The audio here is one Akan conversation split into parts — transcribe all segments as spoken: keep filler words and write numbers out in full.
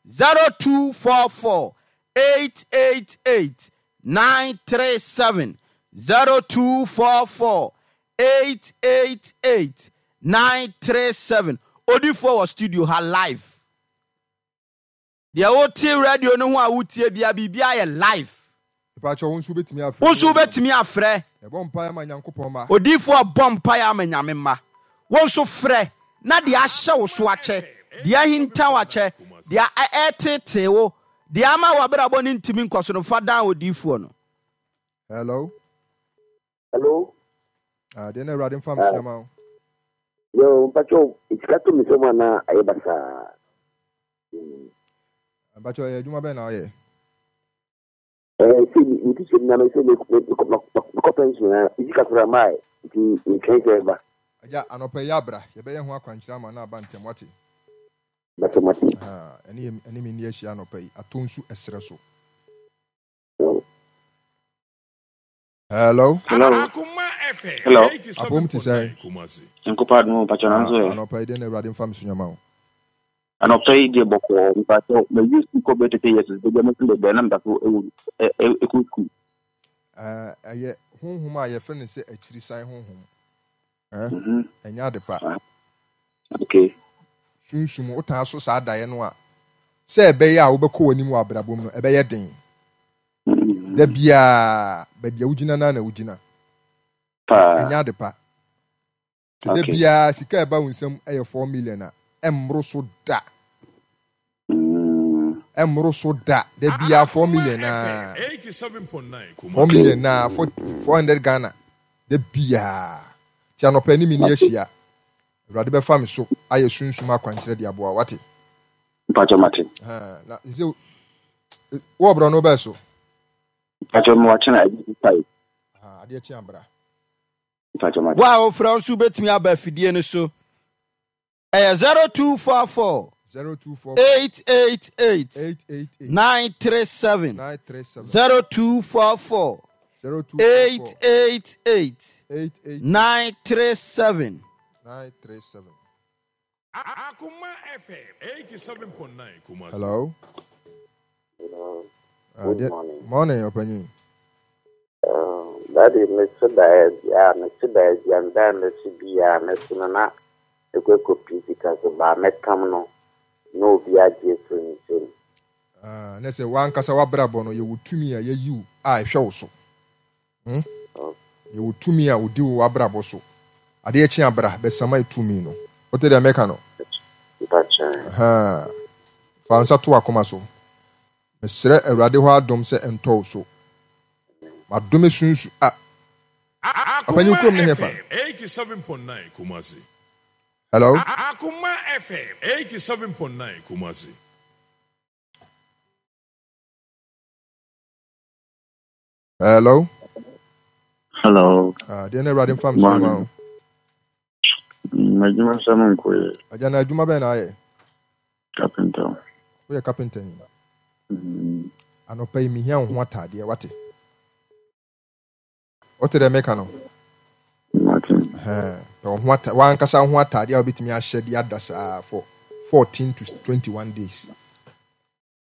zero two four four eight eight eight nine three seven zero two four four eight eight eight nine three seven. Odifoɔ wɔ studio ha live. Deɛ wote radio no ho a wotie bia biribi ayɛ live. Mepakyɛw, wo nso wobɛtumi afrɛ. Wo nso wobɛtumi afrɛ. Yɛbɔ mpaeɛ ama Nyankopɔn mma. Odiyifoɔ bɔ mpaeɛ ama Nyame mma. Wo nso frɛ na deɛ ahyɛ wo so akyɛ, deɛ ahinta wo akyɛ, deɛ ɛreteetee wo, deɛ ama w'abrabɔ no ntumi nkɔ so no, fa dan odiyifoɔ no. Hello. Hello. Ah, deɛ na Awurade mfa mesua ma wo. Yo, mpakyɛw, sika to me nsam anaa ayɛ basaa? Mpakyɛw, ɛyɛ adwuma bɛn na woyɛ? Eh, sɛ me me teacher na me sɛ me me me kɔ pension na me sika koraa maa nti metwɛn sɛ ɛba. Agya, anɔpa yi abra, yɛbɛyɛ ho akwankyerɛ ama no aba ntɛm, wate? Bɛsɛ mate. Aha, ɛne yɛ ɛne me nni ahyia anɔpa yi, atɔ nsu ɛserɛ so. Hello. Hello. Hello. Apom te sɛn? Nyankopɔn adom, mpakyɛ, nanso ɛ. Anɔpa yi deɛ na Awurade mfa me so nyama wo. Anɔpa yi deɛ bɔkɔɔ, mpakyɛ, mawie sukuu kɔ bɛyɛ thirty years, baabi a mɛsi bɛbɛn na meda so ɛwɔ ɛkɔ sukuu. Ɛyɛ honhom a yɛfrɛ no sɛ akyirisan honhom. Ɛnyɛ ade pa. Okay. Sunsum wotaa so saa daeɛ no a, sɛ ɛbɛyɛ a wobɛkɔ w'anim wɔ abrabɔ mu no, ɛbɛyɛ den. Da biara, baabi a wogyina no na wogyina. Ɛnyɛ ade pa. Sɛ da biara sika a ɛba wo nsam yɛ four million a, ɛmmoro so da. Ɛmmoro so da. Da biara four million na. four million na four hundred Ghana. Da biara. Ti anɔpa anim ni ahyia. Awurade bɛfa me so ayɛ sunsum akwankyerɛ de aboa, wate? Mpakyɛ, mate. Na sɛ wɔ borɔ no bɛɛ so. Mpakyɛ, mo wakyena adi five. Adeɛ kye abra. Mpakyɛ, mate. Wo a wofrɛ nso wobɛtumi aba afidie no so. Ɛyɛ zero two four four zero two four eight eight eight eight eight eight nine three seven nine three seven zero two four four zero two eight eight eight eight eight nine three seven. nine three seven. Akuma F M eighty-seven point nine Kumasi. Hello. Hello. Uh, Good dear- morning. Morning, Opanyin. Um, Daddy, Mister Baez, yeah, Mister Baez, yeah, Mister B, yeah, Mister Nana, ekɔ pii sika so ba mɛtam no na obi agye afiri ne nsam. Ah, na sɛ wankasa wabrabɔ no, yɛwɔ tumi a yɛyi wo a ɛhwɛ wo so. Hmm? Yɛwɔ tumi a odi wo wabrabɔ so. Adeɛ kye abra bɛsama tumi no. Wote deɛ mɛka no? Mpakyɛ. Aha. Fa nsa to akoma so. Mesrɛ Awurade hɔ adom sɛ ɛntɔ wo so. Madome sunsu a. Akuma Ɔpanyin kurom ne hefa? F M eighty-seven point nine Kumasi. Hello. Akuma F M eighty-seven point nine Kumasi. Hello. Hello. Ah, deɛ na Awurade mfa me so ma wo. M'adwuma sɛm nkɔ yɛ. Agya, na adwuma bɛn na ayɛ? Carpenter. Woyɛ carpenter ni. Mm. Anɔpa yi mehia wo ho ataadeɛ, wate? Wote deɛ meka no? Mate. Ɛhɛn. Pɛ wo ho ata wankasa wo ho ataadeɛ a wobɛtumi ahyɛ de ada saa for fourteen to twenty-one days.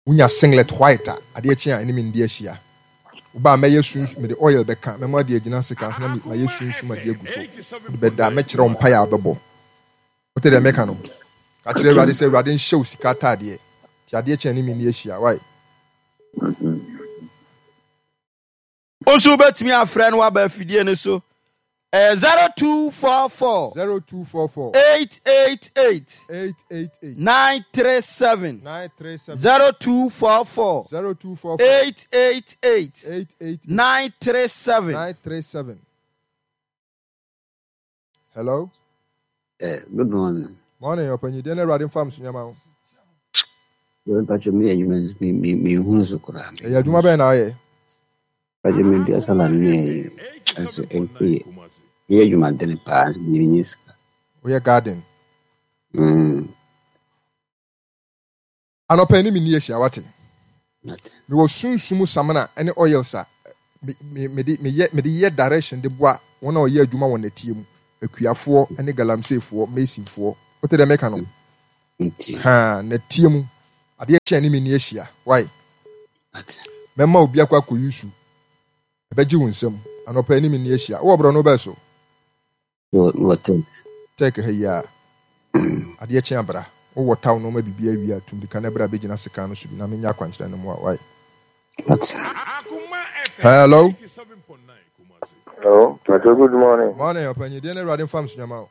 Wonya singlet white a, adeɛ kye a ɛne me ndi ahyia. Woba a mɛyɛ sunsum, mede oil bɛka, mɛma ade agyina sika so na mayɛ sunsum ade agu so. Wode bɛda, mɛkyerɛ wo mpaeɛ a wobɛbɔ. Wote deɛ meka no? Ka kyerɛ Awurade sɛ Awurade nhyɛ wo sika ataadeɛ. Nti adeɛ kye a ɛne me ndi ahyia. Why? Wo nso wobɛtumi afrɛ no waba afidie no so. Ɛyɛ zero two four four zero two four four eight eight eight eight eight eight nine three seven nine three seven zero two four four zero two four four eight eight eight eight eight nine three seven nine three seven. Hello. Eh, good morning. Morning, Opanyin. Deɛ na Awurade mfa me so nyama wo. Mpakyɛ, me adwuma me me me hu so koraa. Ɛyɛ adwuma bɛn na ayɛ? Mpakyɛ, me dua salad ne ɛnso ɛnkɔ yie. Meyɛ adwumaden paa, me nye sika. Woyɛ garden. Mm. Anɔpa ni me ni ahyia, wate? Mate. Mewɔ sunsum samina ne oils a me me mede meyɛ mede yɛ direction de boa wɔn a wɔyɛ adwuma wɔ nɛteɛ mu, akuafoɔ ne galamseyfoɔ, masonfoɔ. Wote deɛ meka no? Nti. Ha, nɛteɛ mu. Adeɛ kyɛn ne me ni ahyia. Why? Mɛma obi akɔ akɔ yusu. Ɛbɛgye wo nsam. Anɔpa ne me ni ahyia. Wowɔ borɔ no bɛɛ so? Wɔ tech. Tech ha yi a. Adeɛ kyen abra. Wowɔ taw nɔɔma biribi awie a, tumdika na bra bɛgyina sekan no so bi na menyɛ akwankyerɛ no mmoa. Why? Hello. Hello, Pacho, good morning. Morning, ɔpanyin. Deɛ na Awurade mfa me so nyama o.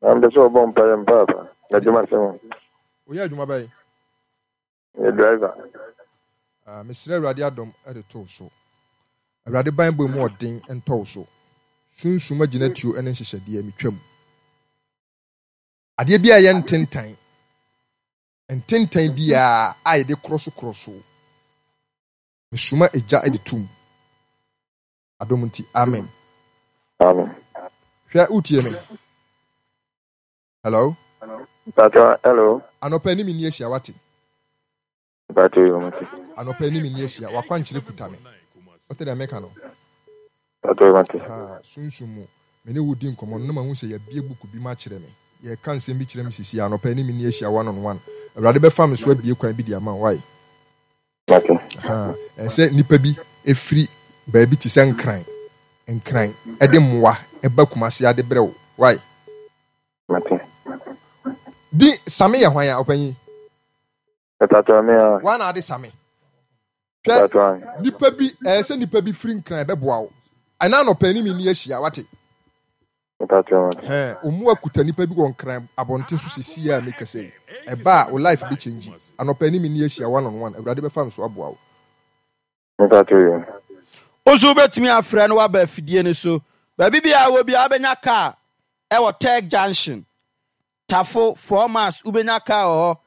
Na mpɛ sɛ ɔbɔ mpaeɛ mpaapa. Na adwuma sɛm. Woyɛ adwuma bɛyɛ? Yɛ driver. Ah, mesrɛ Awurade adom de to wo so. Awurade banbɔ mu ɔden ntɔ wo so. Sunsum agyinatuo ne nhyehyɛdeɛ metwam. Adeɛ bi a ɛyɛ ntentan, ntentan biara a yɛde korɔ so korɔ so. Mesoma egya de tum. Adom nti, amen. Amen. Hwɛ, wotie me? Hello? Pacho, hello. Anɔpa anim ni ahyia, wate? Pacho, yo, mate. Anɔpa anim ni ahyia, wakwankyerɛ kuta me. Wote deɛ meka no? Pacho, yo, mate. Ha, sunsum mu. Me ne wo di nkɔmmɔ no, na mahu sɛ yɛabie buku bi ma akyerɛ me. Yɛka nsɛm bi kyerɛ me sisi anɔpa anim ni ahyia one on one. Awurade bɛfa me so abie kwan bi de ama wo, why? Mate. Ha, ɛsɛ nnipa bi efiri baabi te sɛ Nkran, Nkran, ɛde mmoa ɛba Kumase ade brɛ wo, why? Mate. Di Same yɛ hwan a, ɔpanyin? Pacho, me a. Wan na ade Same? Hwɛ, Pacho, nipa bi, ɛyɛ sɛ nipa bi firi Nkran bɛboa wo. Ɛna anɔpa anim ni ahyia, wate? Pacho, mate. Hɛn, ɔmu akuta nipa bi wɔ Nkran abɔnten so sisi a mekasa yi. Ɛba a, wo life bɛ change. Anɔpa anim ni ahyia one on one. Awurade bɛfa me so aboa wo. Pacho, yo. Wo nso wobɛtumi afrɛ no woaba afidie no so. Baabi biara wɔ biara wobɛnya kaa ɛwɔ Tech Junction. Tafo four miles wobɛnya kaa wɔ hɔ.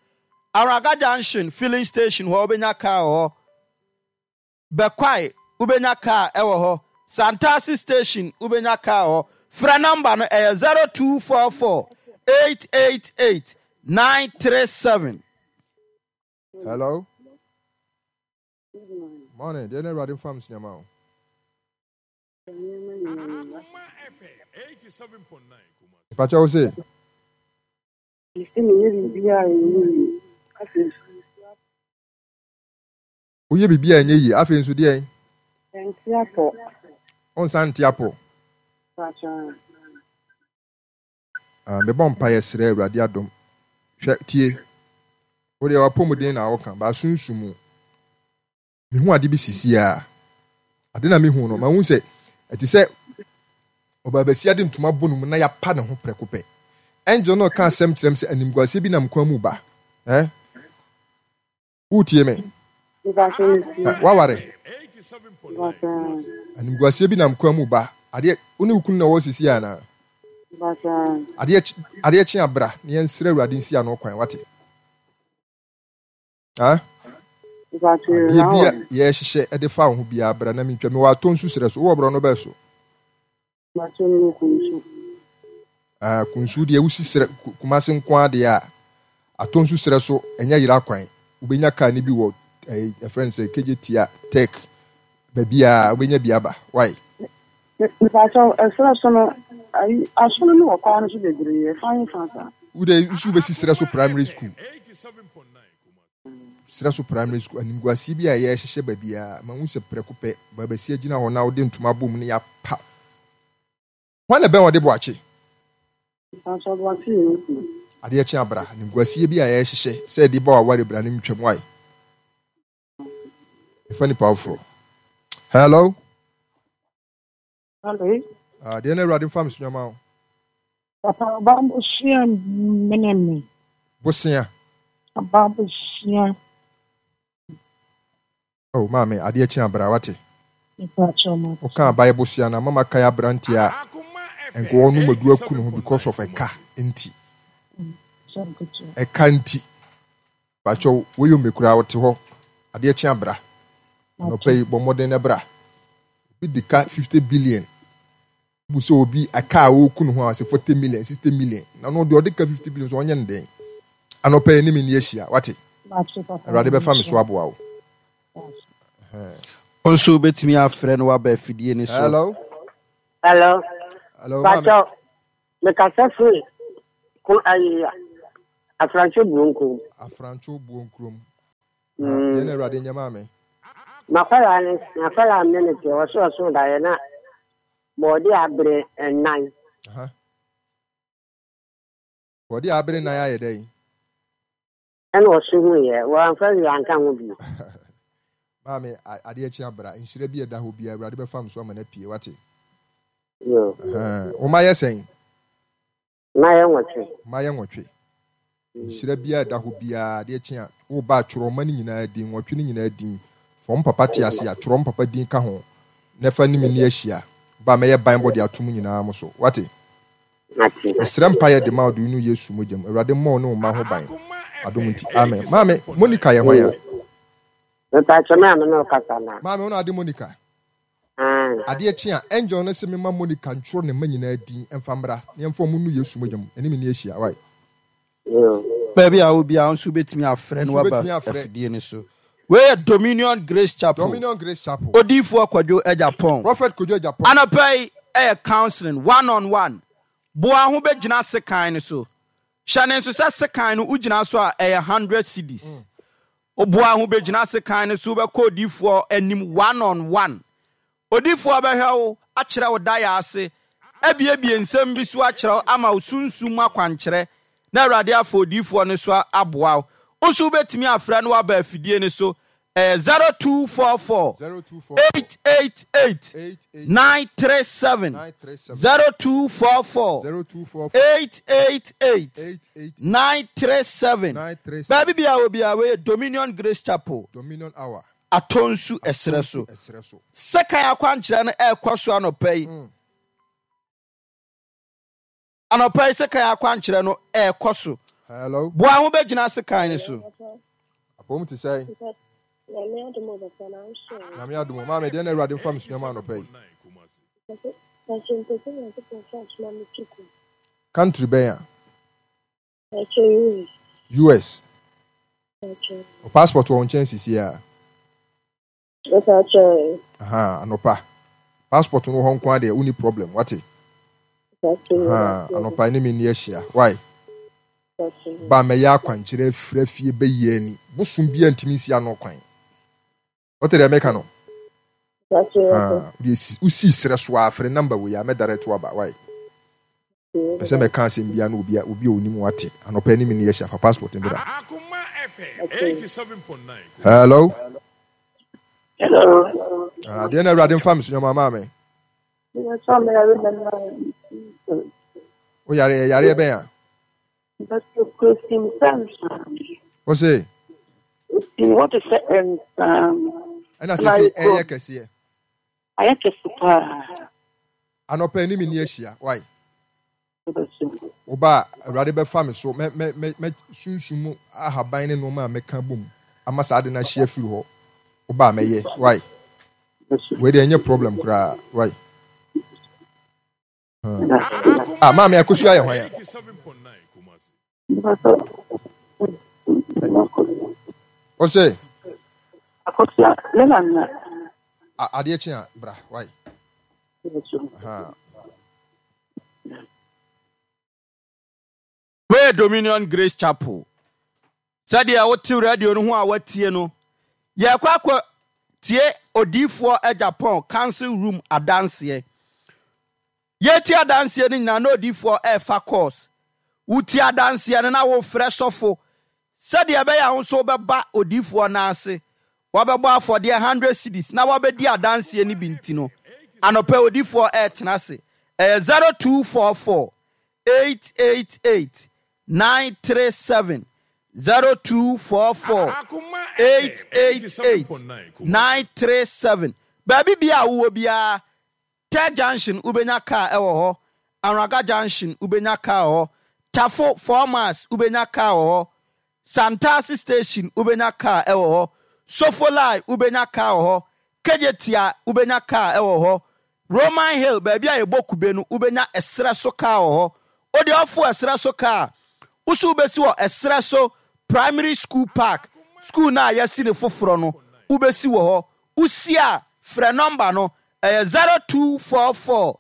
Araga Junction filling station hɔ wobɛnya kaa wɔ hɔ. Bɛkwae wobɛnya kaa ɛwɔ hɔ. Santasi station wobɛnya kaa wɔ hɔ. Frɛ number no ɛyɛ zero two four four eight eight eight nine three seven. Hello? Morning. Deɛ na Awurade mfa me so nyama wo. Pacho, wo se? Mesi meyɛ biribiara a ɛnyɛ yie. Afei nso Woyɛ biribi a ɛnyɛ yie. Afei nso deɛ? Ɛnte apɔ. Ɔnsan nte apɔ. Pakyɛ. Ah, mebɔ mpaeɛ srɛ Awurade adom. Hwɛ, tie. Wo deɛ wapɔmuden na woka, ba sunsum mu. Mehu ade bi sisi a. Ade na mehu no, mahu sɛ ɛte sɛ ɔbaabasia de ntoma bɔ ne mu na yɛapa ne ho prɛko pɛ. Angel no ka asɛm kyerɛ m sɛ animguaseɛ bi nam kwan mu ba. Eh? Wotie me? Mepakyɛ metie. Eh, waware. Mepakyɛ. Animguaseɛ bi nam kwan mu ba. Adeɛ, wo ne wo kunu na wɔwɔ sisi anaa? Mepakyɛ. Adeɛ kye adeɛ kye abra na yɛnsrɛ Awurade nsi ano kwan, wate? Ah? Mepakyɛ Adeɛ bi a na yɛhyehyɛ de fa wo ho biara bra na mentwa. Mewɔ atɔ nsu serɛ so. Wowɔ borɔ no bɛɛ so? Mepakyɛ mewɔ Kunsu. Ah, Kunsu deɛ wosi serɛ Ku- Kumase nko ara deɛ a atɔ nsu serɛ so ɛnyɛ yera kwan. Wobɛnya kaa no bi wɔ ɛɛ ɛfrɛ no sɛ K J Tia Tech baabi a wobɛnya bi aba. Why? Mepakyɛ ɛserɛ so no ayi asono no wɔ kwan no so bebree ɛfa he fa saa. Wode nsu bɛsi serɛ so primary school. Serɛ so primary school animguaseɛ bi a yɛhyehyɛ baabi a mahu sɛ prɛko pɛ baabasia gyina hɔ na wode ntoma bɔ mu na yɛapa. Hwan na bɛn wɔde boakye? Mepakyɛ ɔboakye yɛ me kunu. Adeɛ kye abra animguaseɛ bi a yɛhyehyɛ sɛ yɛde ba waware bra ne ntwam. Why? Ɛfa nipa foforɔ. Hello? Hello. Ah, deɛ na Awurade mfa me so nyama wo. Papa, ɔbaa bosea mene me. Bosea. Ɔbaa bosea. Oh, maame, adeɛ kye abra, wate? Mepakyɛ mate. Woka abayɛ bosea na mama kae aberanteɛ a nka ɔnom adu aku ne ho because of ɛka nti. Sɛ nketewa. Ɛka nti. Pakyɛw, woyɛ mmekura wote hɔ. Adeɛ kye abra. Anɔpa yi bɔ mmɔden na bra. Obi de ka fifty billion. Bu sɛ obi aka a ɔreku ne ho a sɛ forty million, sixty million. Na no deɛ ɔde ka fifty billion so ɔnyɛ ne den. Anɔpa yi ne me ni ahyia, wate? Mate papa. Awurade bɛfa me so aboa wo. Wo nso wobɛtumi afrɛ no woaba afidie no so. Hello? Hello. Hello, maame. Pacho, mekasa firi ko ayi Afrancho Buonkurom. Afrancho Buonkurom. Deɛ na Awurade nyɛ maa me. Makwala ne makwala ne ne te ɔso ɔso daeɛ na bɔɔde abere nnan. Aha. Bɔɔde abere nnan ayɛ dɛn? Ɛna ɔso hu yɛ wɔamfa wi anka ho bio. Maame, adeɛ kye abra nhyira bi ɛda hɔ biara Awurade bɛfa m so ama no apue wate. Yo. Wo ma yɛ sɛn? Ma yɛ nwɔtwe. Ma yɛ nwɔtwe. Nhyira biara ɛda hɔ biara adeɛ kye a woba atwerɛ ɔma no nyinaa din nwɔtwe no nyinaa din fɔm papa te ase a twerɛ papa din ka ho na fa ne mi ni ahyia ba mɛyɛ ban bɔ de ato mu nyinaa mo so wate. Mesrɛ mpaeɛ de ma ɔde no Yesu mogya mu. Awurade mmɔ wo ne wo mma ho ban. Adom nti amen. Maame Monica yɛ hwan a? Mepa maame na ɔkasa na. Maame wo na ade Monica. Adeɛ kye a angel no sɛ mema Monica ntwerɛ ne mma nyinaa din ɛmfa mmra na yɛmfa ɔmo nu Yesu mogya mu ɛne me ni ahyia wae. Baabi a wo biara nso wobɛtumi afrɛ no waba afidie no so. Wei yɛ Dominion Grace Chapel. Dominion Grace Chapel. Odiyifoɔ Kwadwo Agyapong. Prophet Kwadwo Agyapong. Anɔpa yi ɛyɛ counseling one on one. Boa ho bɛgyina sekan no so. Hyɛ ne nso sɛ sekan no wogyina so a ɛyɛ hundred cedis. Woboa ho bɛgyina sekan no so wobɛkɔ odiyifoɔ anim one on one. Odiyifoɔ bɛhwɛ wo akyerɛ wo daeɛ ase abiebie nsɛm bi so akyerɛ wo ama wo sunsum akwankyerɛ na Awurade afa odiyifoɔ no so aboa wo. Wo nso wobɛtumi afrɛ no waba afidie no so ɛyɛ zero two four four eight eight eight nine three seven zero two four four eight eight eight nine three seven. Baabi bia wɔ bia wɔyɛ Dominion Grace Chapel. Dominion Hour. Atonsu ɛserɛ so. Sekan akwankyerɛ no ɛrekɔ so anɔpa yi. Anɔpa yi sekan akwankyerɛ no ɛrekɔ so. Hello. Boa ho bɛgyina sekan no so. Apɔm te sɛn? Nyame adom. Maame deɛ na Awurade mfa me sua ma anɔpa yi. Country bɛn a? U S. O passport wɔ nkyɛn sisi a. Aha, anɔpa. Passport no hɔ nko adeɛ, wonni problem, wate? Aha, anɔpa ne me ni ahyia. Why? Ba mɛyɛ akwankyerɛ afiri afie bɛyɛ ani. Bosom bi antimi nsi ano kwan. Wote deɛ meka no? Ah, wosi serɛ so a afrɛ number wei a mɛdare to aba. Why? Pɛ sɛ mɛka asɛm bia na obi a obi a onim wate. Anɔpa ne me ni ahyia fa passport mbra. Hello. Hello. Ah, deɛ na Awurade mfa me so nyɔma maame. Wo yare yare bɛn a? Wo se? What is it? Ɛna sɛ sɛ ɛyɛ kɛseɛ. Ayɛ kɛse paa. Anɔpa ni me ni ahyia. Why? Oba Awurade bɛfa me so mɛ mɛ mɛ mɛ sunsum ahaban ne nneɛma a mɛka bom ama saa de na ahyia firi hɔ. Oba mɛyɛ. Why? Wei deɛ ɛnyɛ problem koraa. Why? Ah, maame akosua yɛ hwan a? Ɔsɛ? Akosua ne nana. Adeɛ kye a bra. Why? Aha. Wei Dominion Grace Chapel. Sɛdeɛ wote radio no ho a watie no, yɛkɔ akɔ tie odiyifoɔ Agyapong council room adanseɛ. Yɛtie adanseɛ no nyinaa na odiyifoɔ ɛrefa course. Wotie adanseɛ no na wofrɛ sɔfo sɛdeɛ ɛbɛyɛ a wo nso wobɛba odiyifoɔ no ase. Wabɛbɔ afɔdeɛ hundred cedis na wabɛdi adanseɛ no bi nti no, anɔpɛ odiyifoɔ ɛretena ase. Ɛyɛ zero two four four eight eight eight nine three seven zero two four four eight eight eight nine three seven. Baabi bia a wowɔ biara, Teh Junction wobɛnya car ɛwɔ hɔ, Anraga Junction wobɛnya car wɔ hɔ, Tafo four miles wobɛnya car wɔ hɔ, Santasi Station wobɛnya car ɛwɔ hɔ, Sofolai wobɛnya car wɔ hɔ, Kejetia wobɛnya car ɛwɔ hɔ, Roman Hill baabi a yɛbɔ kube no wobɛnya ɛserɛ so car wɔ hɔ. Wode ɔfo ɛserɛ so car, woso wobɛsi wɔ ɛserɛ so Primary School Park, school no a yɛasi ne foforɔ no wobɛsi wɔ hɔ. Wosi a frɛ number no ɛyɛ zero two four four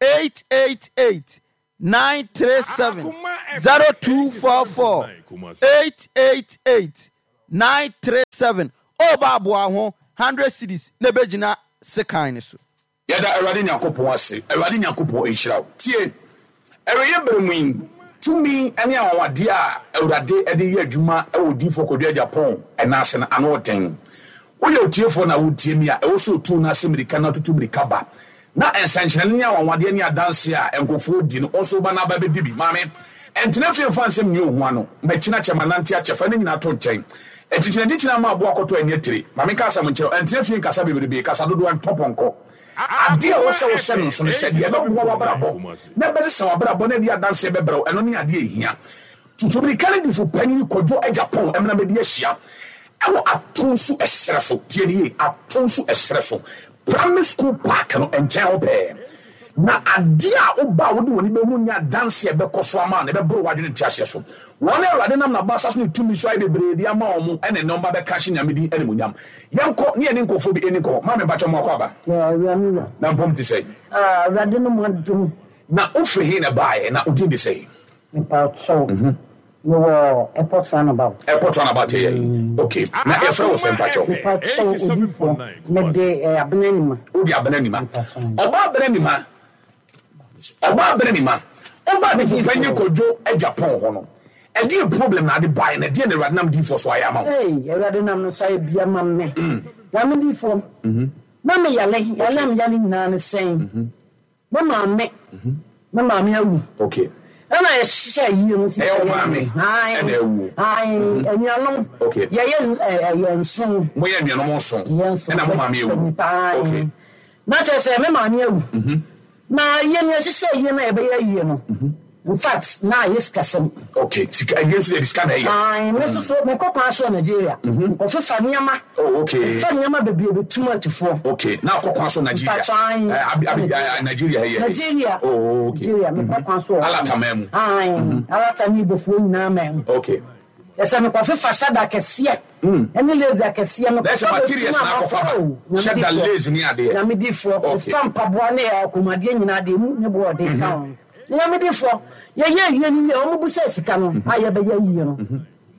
eight eight eight nine three seven zero two four four eight eight eight nine three seven. Ɔba aboa ho hundred cedis na ebegyina sekan ne so. Yɛda Awurade Nyankopɔn ase. Awurade Nyankopɔn nhyira wo. Tie, ɛreyɛ bere mu yi, tumi ne anwanwadeɛ a Awurade de yɛ adwuma wɔ Odiyifoɔ Kwadwo Agyapong ɛnan ase no, ano den. Woyɛ otiefoɔ na wotie mi a, ɛwɔ sɛ otu no ase mmirika na ɔtutu mmirika ba. Na nsɛnkyerɛnne ne anwanwadeɛ ne adanseɛ a nkurɔfoɔ di no, wo nso woba na aba bɛdi bi. Maame, ɛntena fie mfa nsɛm nni wo ho ano. Makyina kyɛ, manante akyɛ, fa ne nyinaa to nkyɛn. Akyinkyinakyinkyina ama aboa kɔtɔ ani atire. Ma menka asɛm nkyerɛ wo, ɛntena fie nkasa bebrebe, kasa dodoɔ ɛntɔ pɔnkɔ. Adeɛ a ɛwɔ sɛ wohyɛ no nso ne sɛ, deɛ ɛbɛboa w'abrabɔ na ɛbɛsesa w'abrabɔ na ɛde adanseɛ bɛbrɛ wo, ɛno ne adeɛ a ɛhia. Tutu mmirika ne difo panyin Kwadwo Agyapong mmra mmɛdi ahyia ɛwɔ Atonsu ɛserɛ so. Tie no yie, Atonsu ɛserɛ so, Primary School Park no nkyɛn hɔ pɛɛ. Na adeɛ a woba a wode w'ani bɛhunu ne adanseɛ a ɛbɛkɔ so ama wo no, ɛbɛboro w'adwene nteaseɛ so. Wɔn a Awurade nam n'abasa so ne tumi so ayɛ bebree de ama wɔn, ɛna ɛnnɛ wɔba bɛka ahyɛ Nyame din animuonyam. Yɛnkɔ ne yɛne nkurɔfoɔ bi nni nkɔmmɔ. Maame, mpakyɛ mo akɔ aba? Na mpɔm te sɛn? Ah, Awurade no mu adom. Na wofiri he na ɛbaeɛ? Na wo din de sɛn? Mepakyɛw, mewɔ Airport Runabout. Airport Runabout yɛ yi? Okay. Na yɛfrɛ wo sɛ mpakyɛw? Mepakyɛw, Odiyifoɔ, mede eh, Abena Nima. Wode Abena Nima. Ɔbaa Abena Nima, ɔbaa Abena Nima, ɔbaa ne panyin Kwadwo Agyapong hɔ no, ɛdeɛ problem na ade baeɛ na ɛdeɛ na Awurade nam diifoɔ so ayɛ ama wo? Hey, Awurade nam no so ayɛ bi ama me. Nyame diifoɔ, na me yale, yale a me yale nyinaa ne sɛn. Me maame, me maame awu. Okay. Ɛna yɛhyehyɛ ayie no. Ɛyɛ wo maame ɛna awu. Ae, anuanom. Okay. Yɛyɛ ɛyɛ nson. Moyɛ anuanom nson. Yɛ nson. Ɛna mo maame awu. Okay. Na kyerɛ sɛ me maame awu. Na yɛn yɛhyehyɛ ayie no a yɛbɛyɛ ayie no. In fact, na ayɛ sikasɛm. Okay, sika ayie nso deɛ sika na ɛyɛ. Ae, me nso so mekɔ kwan so wɔ Nigeria. Nkɔfefa nneɛma. Oh, okay. Fa nneɛma bebree bɛtum atufoɔ. Okay, na akɔ kwan so Nigeria. Mpatwa Eh, abi abi eh, Nigeria yɛ. Nigeria. Oh, okay. Nigeria, mekɔ kwan so wɔ. Alata man mu. Ae, Alata ne Igbofoɔ nyinaa man mu. Okay. Ɛsɛ mekɔfefa hyɛda kɛseɛ. Ɛne lace akɛseɛ Na ɛsɛ materials na akɔfa ba. Hyɛda lace ne adeɛ. Nyamedifoɔ. Okay. Fa mpaboa ne akɔmmuadeɛ nyinaa deɛ mu ne boɔ ɔden ka ho. Nyamedifoɔ, yɛyɛ ayie no wie a, wɔn bu sɛ sika no a yɛbɛyɛ ayie no.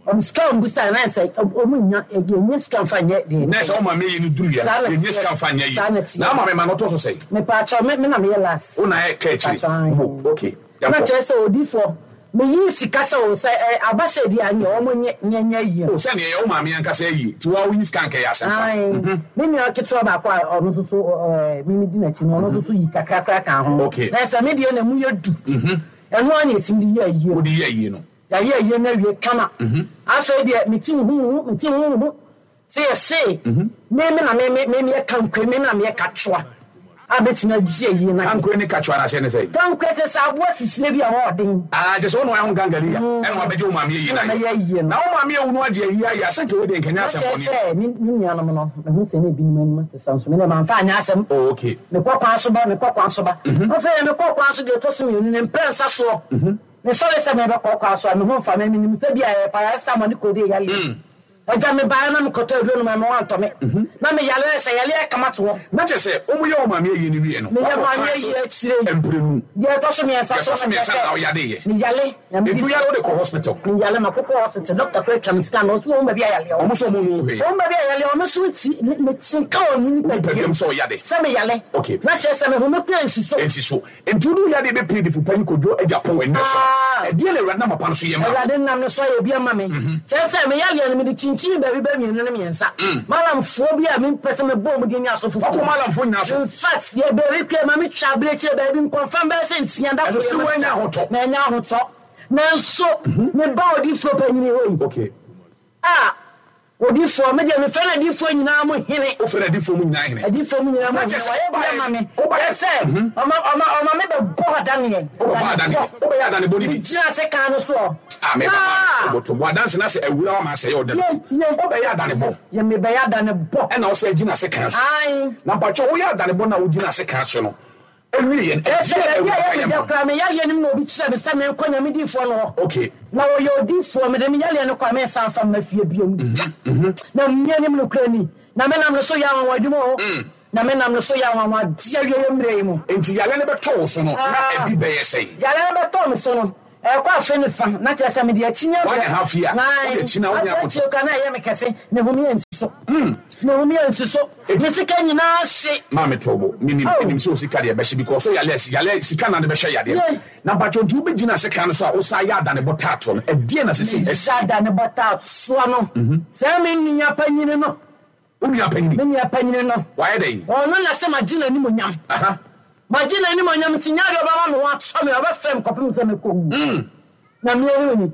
Wɔn sika wɔn bu sɛ na sɛ wɔn nya yɛnyɛ sika nfa nyɛ deɛ. Na sɛ wɔn maame yi no duru yɛ Saa na yɛnyɛ teɛ. sika nfa nyɛ yi. Saa na teɛ. Na ama mi ma no tɔ so sɛ. Mepaakyɛw me me na meyɛ last. Wo na yɛ ka akyire. Mpakyɛw. Mo okay. Na kyerɛ sɛ odiifoɔ meyi sika sɛ o sɛ ɛ aba sɛ di a nyɛ wɔn nyɛ nyɛ nyɛ yie. O sɛ neɛ yɛ wo maame ankasa ayie ti wa woyi sika nka yɛ asɛm pa. Ae, me nua ketewa baako a ɔno nso so ɛɛ me me di n'akyi no ɔno nso so yi kakra kakra ka ho. Okay. Na sɛ me deɛ na mu yɛ du. Ɛno ara na yɛtumi de yɛ ayie. Wode yɛ ayie no. Yɛayɛ ayie no awie kama. Afei deɛ me ti huhu me ti huhu sɛ yɛse me me na me me me meyɛ kankwe me me na meyɛ katwoa a bɛtumi agye ayie no. Kankwe ne katwoa no ahyɛ ne sɛ. Kankwe te sɛ aboa sisire bi a wɔɔden. Ah, kyɛ sɛ wo na wayɛ ho gangalia ɛna wabɛgye wo maame ayie no Ɛna mɛyɛ ayie no. Na wo maame awu no agye ayie ayɛ asɛnka wei deɛ nkɛnyɛ Na asɛm kyerɛ bɔne. sɛ me me nuanom no mehu sɛ ne ebinom anim sesa nso me deɛ mamfa anyɛ asɛm. Oh, okay. Mekɔ kwan so ba mekɔ kwan so ba. Afei mekɔ kwan so deɛ ɛtɔ so mmienu ne mprɛnsa soɔ. Mesɔre sɛ mebɛkɔ kwan so a me ho mfa me menim sɛ bi a ɛyɛ paracetamol ne codeine yale. Agya mebaeɛ na mekɔtɔ aduro no ma me wantɔ me. Na meyale sɛ yale akama to hɔ. Na kyerɛ sɛ wɔn yɛ wo maame ayie no wie no. Meyɛ wakɔ maame kwan so ayie akyire. Mprenu. Deɛ ɛtɔ so mmiɛnsa Deɛ so ɛtɔ so na mmiɛnsa kyerɛ na sɛ woyade yɛ. meyale. Na Nti woyare wode kɔ hospital. Meyale makɔkɔ hospital doctor kora atwa me scan na ɔso wɔn baabi a yale wɔ. Ɔmo sɛ ɔmo nu hwee. Wɔn baabi a yale wɔ me so ti me me ti nka wɔ me Wo nipadua nipadua mu sɛ ɔyade. Sɛ meyale. Okay. Na kyerɛ sɛ me home kura nsi so. Nsi so. Nti wode woyade bɛpie difo panyin Kwadwo Agyapong ɛnnɛ so. Ah. Ɛdeɛ na Awurade nam papa no so yɛ ma wo. Awurade nam no so ayɛ bi ama me. Kyerɛ sɛ meyaleɛ no mede kyinkyini baabi bɛ mmienu ne mmiɛnsa. Malamfoɔ bi a mempɛ sɛ mebɔ mu din ne asɔfofoɔ. Wakɔ malamfoɔ nyinaa so. In fact, yɛ baabi kura ma metwa abirekyire baabi nkɔmfam bɛyɛ sɛ nsia da Ɛso koro still yɛ ma woanya metwa. ahotɔ. Manya ahotɔ. Nanso meba odiifoɔ panyini hɔ yi. Okay. A odiifoɔ me deɛ mefrɛ no adiifoɔ nyinaa mo hene. Wofrɛ no adiifoɔ mu nyinaa hene. Adiifoɔ mu nyinaa mo Na hene. kyerɛ sɛ Wɔyɛ bi wobaeɛ- ama me. wobaeɛ- Kyerɛ sɛ ɔma ɔma ɔma me bɛbɔ adaneɛ. Wobɛbɔ adane. Wobɛyɛ adane bɔ ne bi. Megyina ase kan no soɔ. Ah, me Ah! papa. Woboto. Bɔ adanse na sɛ awura wa ma asɛyɛ ɔda. Ye, ye. Wobɛyɛ adane bɔ. Yɛ mebɛyɛ adane bɔ. Ɛna wo sɛ gyina ase kan so. Ae. Na mpakyɛ woyɛ adane bɔ na wogyina ase kan so no. Ɛwie yɛn. Kyerɛ sɛ Ɛdeɛ baabi a Awurade yɛ ayɛ meda ma wo. koraa meyaleɛ no mu na obi kyerɛ me sɛ menkɔ Nyame diifoɔ no hɔ. Okay. Na wɔyɛ odiifoɔ mede me yaleɛ no kɔ a mensan fa mma fie biom da. Na mmea nim nokorɛ ni. Na menam no so yɛ anwanwadwuma o. Na menam no so yɛ anwanwadeɛ awieeɛ mmerɛ yi mu. Nti yale no bɛtɔ wo so no na Ah. ɛdi bɛyɛ sɛn. Yale no bɛtɔ me so no ɛkɔ afe ne fa na kyerɛ sɛ mede akyi nya One and a half year. Nine. Wode akyi na wonya Afei ahotɔ. akyire koraa na ɛyɛ me kɛse ne home yɛ nsi so. Mehu me ansi so. Me sika nyinaa hye. Maame Tobo, menim menim sɛ wo sika deɛ ɛbɛhye because so yale yale sika na de bɛhwɛ yadeɛ. Na mpatwɔ nti wobɛgyina sekan no so a wosan yɛ adanebɔ taatoɔ no, ɛdeɛn na sesei asi? Mehyɛ adanebɔ taatoɔ no, sɛ me nua panyini no. Wo nua panyini? Me nua panyini no. Wayɛ dɛn? Ɔno na sɛ magye n'animuonyam. Aha. Magye n'animuonyam nti nyɛ adeɛ ɔbɛma me ho atɔ me, ɔbɛfrɛ me kɔpem sɛ mɛkɔwu. Na me ahu ni.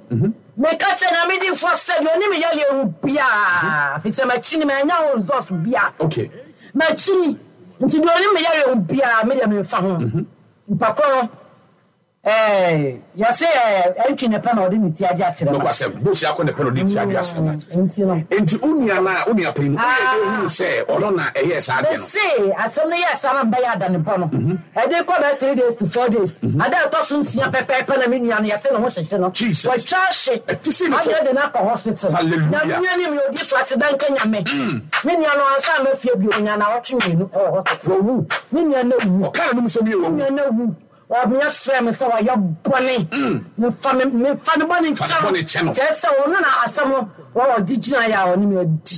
Meka kyerɛ Nyame difoɔ sɛ deɛ ɔnim me yareɛ ho biara, firi sɛ makyini, mannya ho results biara. Okay. Makyini, nti deɛ ɔnim me yareɛ ho biara, me deɛ memfa ho. Nipa korɔ no, eh, yɛse eh, ɛntwi ne pɛ na ɔde ne ti agye akyerɛ ma. Nokwasɛm, Bosi akɔ ne pɛ na ɔde ne ti agye akyerɛ ma. Nti no. Nti wo nua no a, wo nua panyin no, woyɛ dɛn huu sɛ ɔno na ɛyɛɛ saa adeɛ no? Mese, asɛm no yɛɛ saa na mebɛyɛ adanebɔ no. Ɛde kɔ bɛyɛ three days to four days, ada a ɛtɔ so nsia pɛpɛɛpɛ na me nua no yɛse ne ho hyehye no. Jesus. Watwa ahye. Ɛte sei ne so. Ade de no akɔ hospital. Hallelujah. Nyame anim yɛ odiyifoɔ aseda nka Nyame. Me nua no ansa amma fie bio, ɔnyaa naawɔtwe mmienu wɔ hospital. Wawu. Me nua no awu. Ɔkaa n'anom sɛ me yɛ wawu. Me nua no awu. Ɔbea frɛɛ me sɛ wayɛ bɔne. Memfa me memfa ne bɔne nkyɛ no. Kyerɛ sɛ ɔno na asɛm no ɔde gyinaeɛ a ɔne me adi.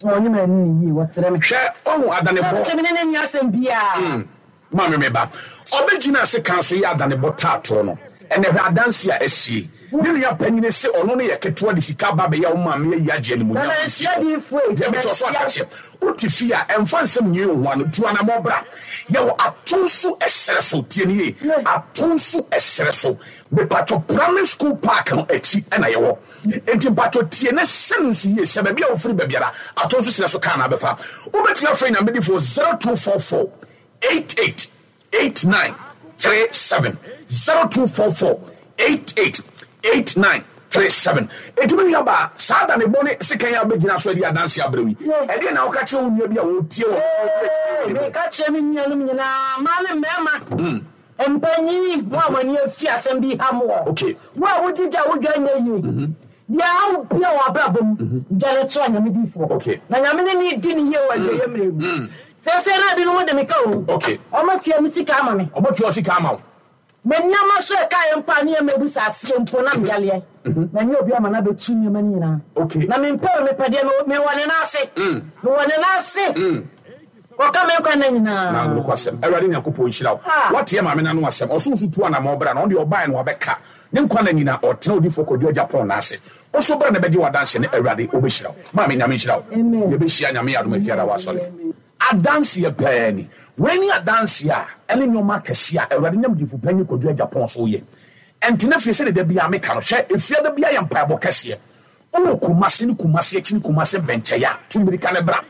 Ɔne me anni no yie, wɔsrɛ me. Hwɛ, ɔhu adanebɔ. Sɛ me ne no nni asɛm biara. Maame me ba, ɔbɛgyina ase kan so yɛ adanebɔ taatoɔ no. Ɛnɛ hwɛ adanse a asie. Ne nua panyini se ɔno no yɛ ketewa de sika aba abɛyɛ wo maame ayi agye animuonyam. Sɛ manhyia diyifoɔ yi, sɛ Deɛ mekyerɛ so manhyia. aka akyerɛ. Wote fie a, ɛmfa nsɛm nwie wo ho ano. Tu anammɔn bra. Yɛwɔ Atonsu ɛserɛ so. Tie no yie. Atonsu ɛserɛ so. Mepatwɔ Primary School Park no akyi na yɛwɔ. Enti mpatwɔ tie na hyɛ no nso yie sɛ baabi a wofiri ba biara, Atonsu serɛ so kaa na abɛfa. Wobɛtumi afrɛ Nyamedifoɔ zero two four four eight eight eight nine three seven zero two four four eight eight eight nine three seven. Enti me nua baa, saa da ne bɔne sekan a wobɛgyina so adi adanse abrɛ wo yi, ɛdeɛn na woka kyerɛ wo nua bi a ɔretie wɔ Ee, meka kyerɛ me nuanom nyinaa, mmaa ne mmarima, mpanyin, mo a mo ani afi asɛm bi ha mo wɔ, Okay. wo a wodi dwa a wo dwa nyɛ yie, deɛ ɛha wo bia wɔ abrabɔ mu, gya no kyerɛ Nyame difoɔ, Okay. na Nyame ne ne di ne yie wɔ awieeɛ mmerɛ mu. Seesei na ebinom de me ka o, Okay. wɔatua me sika ama me. Wɔatua wo sika ama wo. Me nneɛma so ɛkaeɛ mpo a ne yɛ mɛbu sɛ aseɛ mpo na meyaleɛ. Manya obi ama no abɛtu nneɛma no nyinaa. Okay. Na mempɛ o, mepɛ deɛ mewɔ, mewɔ ne nan ase. Mewɔ ne nan ase. Kɔka me nkwa nna nyinaa. Na nokwasɛm, Awurade Nyankopɔn nhyira wo. Ah. Woateɛ maame no ano asɛm. Ɔso nso tu anamɔn bra na ɔno deɛ ɔbaeɛ no wabɛka. Ne nkwa nna nyinaa ɔtena odiyifoɔ Kwadwo Agyapong nan ase. Wo nso bra na bɛgye w'adanseɛ ne Awurade ɔbɛhyira wo. Maame Nyame nhyira wo. Amen. Yɛbɛhyia Nyame yɛ adom afiada wɔ asɔre. Adanseɛ pɛɛ ni. Wei ne adanseɛ a ɛne nneɛma akɛseɛ a Awurade nam diyifo panyin Kwadwo Agyapong so yɛ. Ɛntena fie sɛdeɛ da biara meka no. Hwɛ, efie da biara yɛ mpaebɔ kɛseɛ. Wowɔ Kumasi ne Kumasi akyi ne Kumasi bɛnkyɛeɛ a, tu mmirika na bra.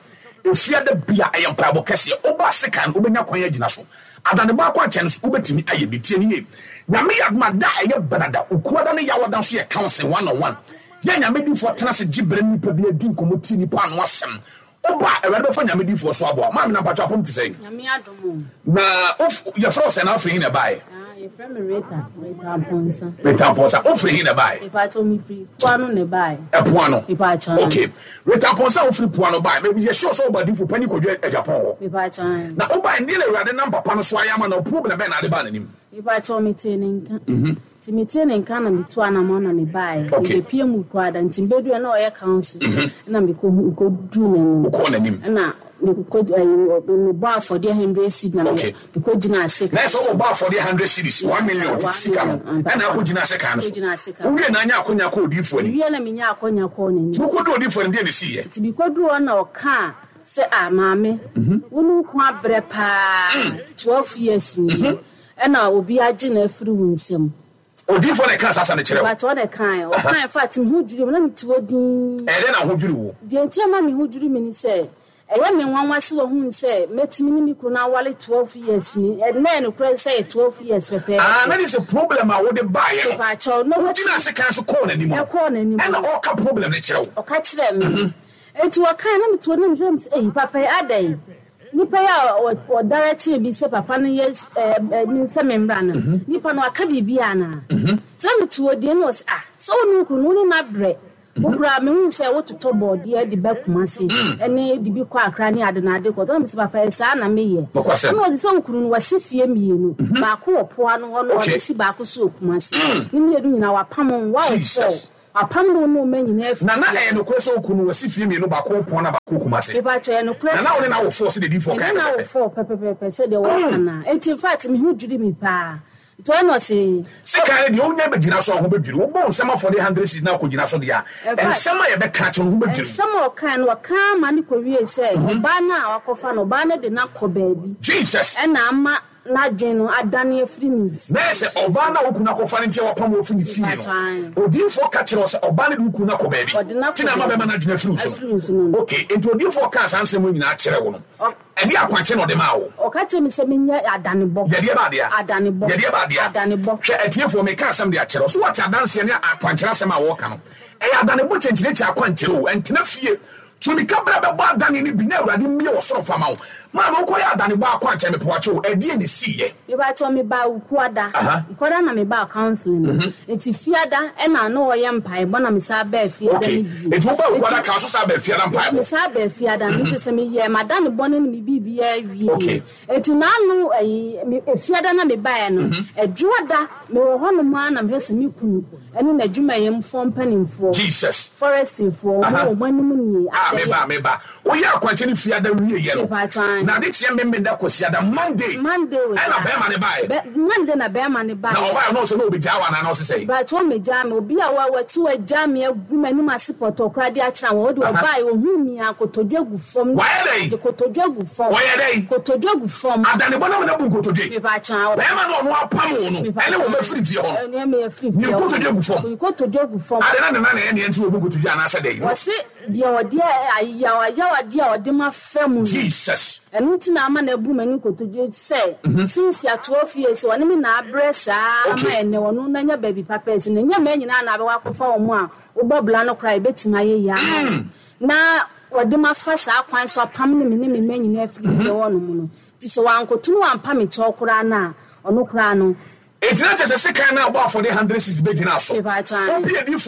Efie da biara ɛyɛ mpaebɔ kɛseɛ. Woba Asekan no, wobɛnya kwan agyina so. Adanebɔ akwankyɛn no so, wobɛtumi ayɛ bi. Tie no yie. Nyame yɛ adom a, da a ɛyɛ Benada, Okuada ne Yawada nso yɛ counseling one on one. Yɛ Nyame difoɔ tena ase gye berɛ ne nipa bi adi nkɔmmɔ tie nipa ano asɛm. Woba a, Awurade bɛfa Nyame difoɔ so aboa wo. Maame na mpakyɛw apɔm te sɛn? Nyame adom o. Na wof yɛfrɛ wo sɛn na wofiri he na ɛbaeɛ? Ah, yɛfrɛ me Rita, Rita Amponsah. Rita Amponsah, wofiri he na ɛbaeɛ? Mepakyɛw mefiri Poano na ɛbaeɛ. Ɛpoano? Mepakyɛw. Okay. Rita Amponsah wofiri Poano baeɛ. Me yɛ sure sɛ woba difo panyin Kwadwo Agyapong hɔ. Mepakyɛw ae. Na wobaeɛ no, deɛ na Awurade nam papa no so ayɛ ama no, problem bɛn na ade baa n'anim? Mepakyɛw metee ne nka. Nti metee ne nka na metu anamɔn na mebaeɛ. Okay. Mebɛpie mu Kuada nti mebɛduɛ na ɔyɛ council. Ɛna mekɔ mekɔduru n'anim. Wokɔɔ n'anim? Ɛna mekɔ ɛyi mebɔ afɔdeɛ hundred cedis na Okay. mekɔ gyina ase. Na ɛsɛ wobɔ afɔdeɛ hundred cedis, one million tete sika no, ɛna akɔ gyina ase kan no so. Kɔgyina ase kan. Wowie na anya akɔnya kɔɔ odiyifoɔ anim. Mewie na menya akɔnya kɔɔ n'anim. Nti wokɔduru odiyifoɔ anim deɛ na ɛsiiɛ? Nti mekɔduru hɔ na ɔkaa sɛ ah maame, wo ne wo ko abrɛ paa, twelve years nie, ɛna obi agye no afiri wo nsam. Odiyifoɔ na ɛkaa saa asɛm no kyerɛɛ wo? Mepakyɛ ɔna ɛkaeɛ. Ɔkaeɛ in fact me ho dwirii me na mete hɔ dinn. Ɛyɛ dɛn na wo ho dwirii wo? Deɛ nti a ɛma me ho dwiri me ne sɛ, ɛyɛ me nwanwa sɛ wahunu sɛ mɛtumi ne me kunu no aware twelve years ni. Ɛnnɛ ɛyɛ nokorɛ sɛ ɛyɛ twelve years pɛpɛɛpɛ. Ah, na kyerɛ sɛ problem a wode baeɛ no, Mepakyɛw, na wogyinaa watumi sekan so kɔɔ n'anim no, Ɛkɔɔ n'anim ɛna no. ɔreka problem no kyerɛ wo. Ɔka kyerɛɛ me. Enti ɔkaeɛ na mete hɔ na mehwɛ na mese, ei papa yi adɛn? Nipa yi a ɔdirect bi sɛ papa no yɛ sɛ me mmra no, nipa no aka biribi anaa? Nti na mete hɔ din na ɔsɛ ah, sɛ wo ne wo kunu no, wo ne no abrɛ. Wo koraa mehu sɛ wototɔ bɔɔdeɛ de ba Kumasi ɛne de bi kɔ Accra ne ade na ade kɔ. Nti na mese papa yɛ saa na meyɛ. Ɛna ɔse sɛ wo kunu no wasi fie mmienu, baako wɔ Poano hɔ na ɔde si baako so wɔ Kumasi. Ne mmienu nyinaa wapam wɔn, wawo four. Apam no no ma nyina afi. Na na ɛyɛ nokorɛ sɛ wo kunu wasi fie mmienu, baako Pɔn na baako Kumase. Mepakyɛw, ɛyɛ nokorɛ Na na wo ne no awo four sɛdeɛ diyifoɔ Me kaeɛ ne no awo pɛpɛpɛ. four pɛpɛpɛpɛ sɛdeɛ wɔka no a. Enti in fact me ho dwiri me paa. Nti ɔno na ɔse. Sekan no deɛ wonya bɛgyina so a wo ho bɛdwiri wo. Wobɔ wo nsam afɔdeɛ hundred cedis na wokɔgyina so deɛ a, In fact, nsɛm a yɛbɛka akyerɛ wo no ho bɛdwiri wo. nsɛm a ɔkae no, ɔka ma no kɔwiee sɛ ɔbaa no a wakɔfa no, ɔbaa no de no akɔ baabi. Jesus! Ɛna ama n'adwene no adane afiri me Na ɛyɛ sɛ ɔbaa no a wo kunu akɔfa no nti a wapam wo afiri ne fie no, Mepakyɛw, aane. odiyifoɔ ka kyerɛɛ wo sɛ ɔbaa no de wo kunu no akɔ baabi Ɔde no nti akɔ na ama baabi bɛrima no adwene afiri wo so afiri me so no. no. Okay, enti odiyifoɔ kaa saa nsɛm wei nyinaa kyerɛɛ wo no, Ɔ. ɛdeɛn akwankyerɛ na ɔde maa wo? Ɔka kyerɛɛ me sɛ menyɛ adanebɔ. Yɛdeɛ ba adeɛ a? Adanebɔ. Yɛdeɛ ba adeɛ a? Adanebɔ. Hwɛ, atiefoɔ, meka asɛm de akyerɛ wo. So woate adanseɛ ne akwankyerɛ asɛm a wɔreka no? Ɛyɛ adanebɔ kyɛnkyerɛkyɛ akwankyerɛ o, ɛntena fie. Tu mirika bra bɛbɔ adane no bi na Awurade mmue ɔsoro mfa ma wo. Maame wokɔyɛ adanebɔ akwankyerɛ mepawakyɛw o, ɛdeɛn na ɛsiiɛ? Mepakyɛw mebaa Wukuada, Aha. Wukuada na mebaa counseling no, nti Fiada ɛna na ɔyɛ mpaebɔ na mesan baa Fiada Okay, no bio. nti wobaa Wukuada Nti kan so san baa Fiada mpaebɔ? mesan baa Fiada no, nti sɛ meyɛɛ m'adanebɔ no ne me biribiara wieeɛ. Okay. Nti n'ano ayi me Fiada na mebaeɛ no, Adwoada mewɔ hɔnom ara na mehwɛ sɛ me kunu ɛne n'adwumayɛmfoɔ mpanimfoɔ, Jesus. forestryfoɔ, wɔn Aha. wɔ wɔn anim nie, Ah, adɛn meba, a. meba. Woyɛ akwankyɛ no Fiada wieeɛ no, Mepakyɛw, na aane. ade kyeɛ Memenda Kwasiada, Monday, Monday o ɛna saa. bɛrima no baeɛ. Bɛ, Monday na bɛrima no Na baeɛ. ɔbaeɛ no, ɔsɛ na ɔbɛgyaa wo anaa na ɔse sɛn? Mepakyɛw, ɔmmɛgyaa me. Obi a wa, wati wagyaa me agu m'anim ase pɔtɔɔ koraa de akyerɛ wɔn. Ɔde Aha. ɔbaeɛ, ɔhuu me a, kotodwe gu fam. Wayɛ dɛn? De kotodwe gu fam. Ɔyɛ dɛn? Kotodwe gu fam. Adanebɔ no ama no abu nkotodwe. Mepakyɛw. Bɛrima no a ɔno apam wo no, ɛne wo Mepakyɛw, bɛfiri fie hɔ no, ɛne me afiri ne fie hɔ nkotodwe no. gu fam. Ne kotodwe gu fam. Ade na ne nan na ɛyɛ nea nti wɔbu nkotodwe anaasɛ dɛn? Wɔse deɛ ɔde ayawayawadeɛ a ɔde ma fa mu no. Jesus. Ɛno nti na ama no abu m'ani nkotodwe sɛ since twelve years ɔne me na abrɛ saa ama Okay. ɛnnɛ ɔno no anya baabi papa asi no. Ɛnyɛ mmaa nyinaa na abɛwɔ akɔfa wɔn a wobɔ bra no koraa a ɛbɛtumi ayɛ yie ama wo. Na ɔde ma fa saa kwan so apam ne me ne me mma nyinaa afiri fie hɔnom no. Nti sɛ wankoto no wampa me kyɛw koraa no a, ɔno koraa no. Enti na kyerɛ sɛ sekan no a ɔbɔ afɔdeɛ hundred cedis bɛgyinaa so. Mepakyɛw. Wopie diifoɔ